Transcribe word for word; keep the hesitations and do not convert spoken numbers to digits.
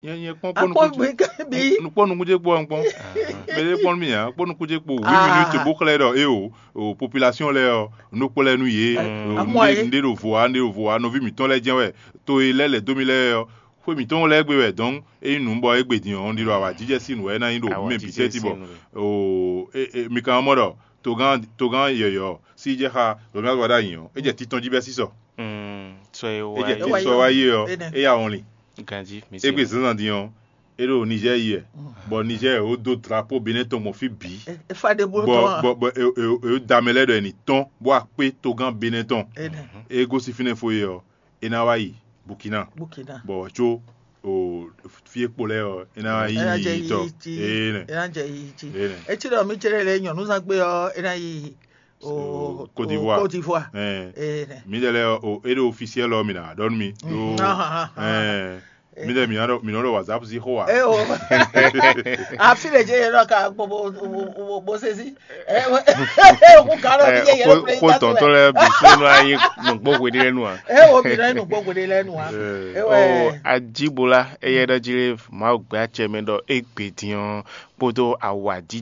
Nyɛ nyɛ kpɔ́n kpɔ́n akpɔ nukún ce, bí kɛ́ bí. Nukpɔ́n nukún ce kpó ɔ́ kpɔ́n. Mɛ ɖé kpɔ́n nú mì ǎ, kpɔ́n nukún ce kpó huit Ah. Minutes bó xlɛ́ ɖɔ é o, o population lɛ́ɛ ɔ, nú kplɔ́ ɛ nú yě, Amɔ nɖé é. Nɖé ɖo vo ǎ, nɖé ɖo vo ǎ, nɔví mǐtɔn lɛ́ɛ jɛ́n wɛ, to e lɛ́ lɛ̌ dó mì lɛ́ɛ ɔ́, xwé mǐtɔn lɛ́ɛ gbe wɛ, dɔn é nyí nǔ bɔ é gbe din ɔ́, un ɖi ɖɔ awǎjijɛ sín nǔ wɛ é ná nyí ɖo Awǎjijɛ mɛ bǐ tɛ́ ti bɔ sín nǔ. O, é, é, mi ka mɔ ɖɔ togán togán yɔ̌yɔ́ sí jɛ xá Romuald Wadagni ɔ́, é jɛ titɔn jí bɛ́ sísɔ. Mm, sɔ e É wá jɛ É wá titɔn yi sɔ ɔ́. Wá yi ɔ́, Énɛ́. É ya wɔn lin. Ganji, mi É gbe zǎnzǎn din ɔ́, é ɖo Niger yi wɛ, bɔ Niger ó dó drapeau Benin tɔn gbɔn fí bǐ. E fa ɖe bó bɔ tɔn. Bɔ bɔ e e e da mɛ lɛ́ɛ ɖɔ è nǐ tɔ́n bó wá kpé togán Benin tɔn. Énɛ́. É gosín fínɛ́ fó e ɔ́, é ná wá yi Burkina. Burkina. Bɔ wǎ có o fí e kpo lɛ́ɛ ɔ́, é ná wá yi Ena jɛ yi tɔ. Yi ti. Énɛ́. Ena jɛ yi ti. Énɛ́. Etí ɖɔ mi cɛ lɛ nyɔnu zan gbé ɔ́, ena yi o Côte d'Ivoire. Côte d'Ivoire. Ɛɛ. Énɛ́. Mi ɖe lɛ o e ɖo officiel ɔ mi na ɖɔ nú mi. Ɖo Ahan, ahan. Ɛɛ. Mi ɖe mi nɔ mi nɔ ɖo WhatsApp sí xó wa. E o. Afi le je yɛ nɔ ka bo bo bo bo bo se si. E o. Ko ka lɔ bi yɛ yɛ lɔ. Ko tɔntɔn lɛ bi so nɔ ayi nugbo hwe ɖe lɛ nu a. E o bi nɔ nugbo hwe ɖe lɛ nu a. E o. Ajibola eyɛ ɖɔ ji le Mawu gbɛ acɛ mɛ ɖɔ egbe din ɔ kpódó awa